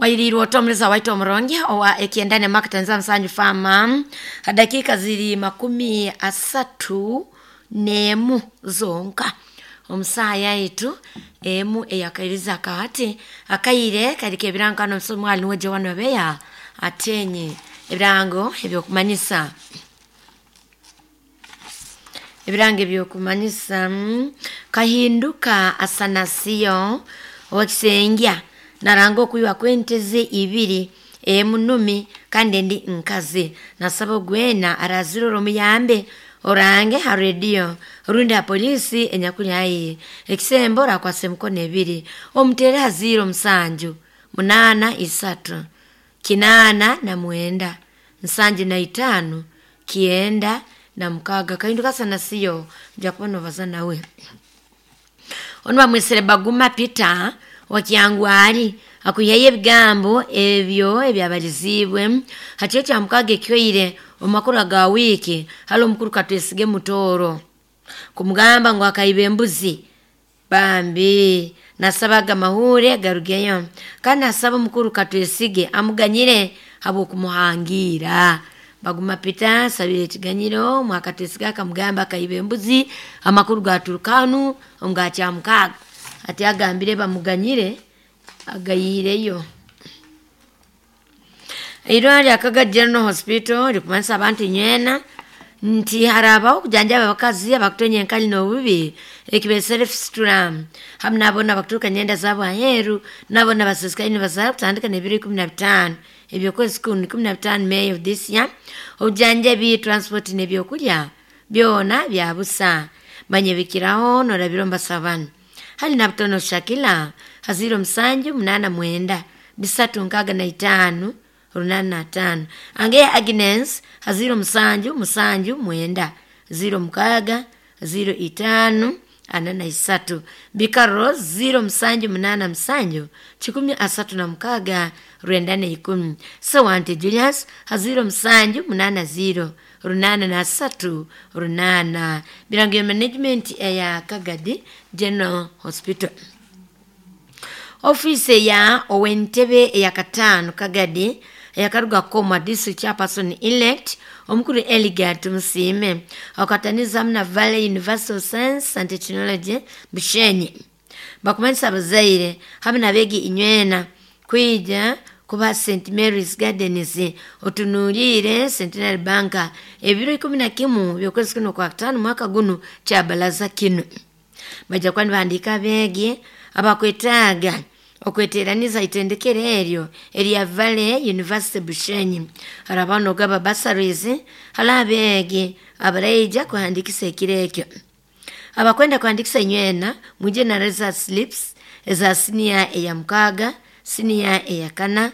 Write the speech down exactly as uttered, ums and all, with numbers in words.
Wairiirwe otomuliza waita omurungi owa ekyendane makitanza musanju fama dakika ziri makumi asatu n'emu zonka omusaha yaitu emu eyakairiza akahati akaire kariko ebirankano omusomi nuwe Joan Obeya atenye ebirango ebyokumanyisa ebirango ebyokumanyisa mm, kahinduka asanasiyo owekisengya naranga okwiwa kw'enteze ibiri emu numi kandi endi nkazi nasaba ogwena arazirora omuyambe orange ha rediyo rundi ha polisi enyakuli haihi ekisembo orakwasa emikono ebiri omutere ha ziro musanju munaana isatu kinaana na mwenda nsanju na itaano kyenda na mukaaga. Kahinduka sanasiyo nja kuba nobaza nawe. Onu bamwesere Baguma Peter wa Kyangwali akwihayo ebigambo ebyo ebyabaliziibwe ha kiro kya mukaaga ekyoire omu makuru aga wiiki hali omukuru Katwesige Mutooro kumugamba ngu akaiba embuzi bambi nasabaga amahuure garugeyo kandi nasaba omukuru Katwesige amuganyire habw'okumuhangiira. Baguma Peter asabire ekiganyiro Mwakatwesige akamugamba akaiba embuzi amakuru gaturuka hanu omu ga Kyamukaaga ati agambire bamuganyire agayiireyo. Eirwariro lya Kagadi General Hospital rikumanyisa abantu nywena nti harabaho okujanjaba abakazi abakutonya enkali n'obubi ekibeesere fistula hamu n'aboona abakuturuka nyenda zaabo aheeru n'aboona abasisikaire nibazaara kutandika n'ebiro ikumi na bitaano eby'okwezi kunu ikumi na bitaano May of this year. Obujanjabi, transport n'ebyokulya byona bya busa. Manya ebikiraho noorabira omu basaho banu: hali Nabutono Shakila ha ziro musanju munaana mwenda bisatu nkaaga na itaano runaana na ataano, Angeya Agnes ha ziro musanju musanju mwenda ziro mukaaga ziro itaano ana na isatu, Bikaro ziro musanju munaana musanju kikumi asatu na mukaaga rwenda na ikumi, Sewante Julius ha ziro musanju munaana ziro runaana na asatu runaana. Birango ya management eya Kagadi General Hospital. Ofiisi eya ow'entebe eyakataano Kagadi eyakaruga Komwa District Chairperson elect omukuru Eliga Tumusiime akataniza hamu na Valley University of Science and Technology Bushenyi bakumanyisa abazaire hamu n'abeegi inywena kwija kuba Saint Mary's Gardens otunuliire Centenary Bank ebiro ikumi na kimu by'okwezi kuno kwa kataano mwaka gunu kyabalaza kinu baija kuba nibahandiika abeegi abakwetaaga okweteraniza itendekero eryo erya Valley University Bushenyi harabaho n'okugaba bursaries hali abeegi abaraija kuhandiikisa ekiro ekyo. Abakwenda kuhandiikisa inywena mwije na result slips eza siniya eya mukaaga, siniya eya kana.